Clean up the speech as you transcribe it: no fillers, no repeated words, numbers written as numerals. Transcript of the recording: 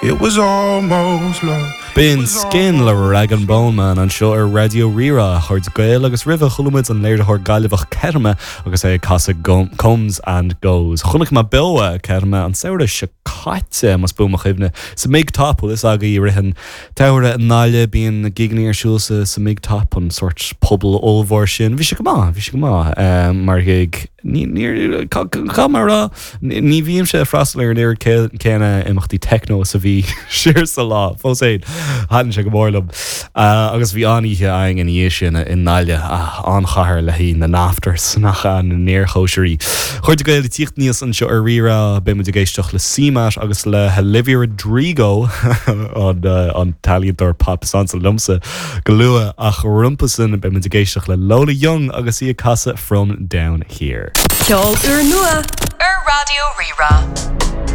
It was almost love. B'in Skin le Rag'n'Bone Man anseo ar Raidió Rí-Rá, a chairde Gael, agus roimhe chuala muid an léiritheoir Gaillimheach Kettama agus é ag casadh Comes and Goes. Chonaic mé beo Kettama an samhradh seo caite, más buan mo chuimhne, sa Big Top, bhfuil fhios agaibh i rith an tsamhraidh i nGaillimh, bíonn gigeanna ar siúl sa mBig Top, an sórt puball ollmhór sin. Bhí sé go maith, bhí sé go maith mar ghig. Ní, níor, caithfidh mé a rá, ní bhímse ag freastal ar an oiread céanna imeachtaí techno is a bhí siar sa lá. Fós féin, thaitin sé go mór liom. Agus bhí an-oíche againn ina dhiaidh sin i nGaillimh, an-chathair le haghaidh na n-afters, nach ea, na n-iarchóisirí. A chairde Gael, ag tíocht aníos anseo ar Rí-Rá, beidh muid ag éisteacht le CMAT agus le hOlivia Rodrigo, an t-ealaíontóir pop is ansa liomsa, go luath, ach rompu sin beidh muid ag éisteacht le Lola Young agus í ag casadh From Down Here. Ceol úrnua ar Raidió Rí-Rá.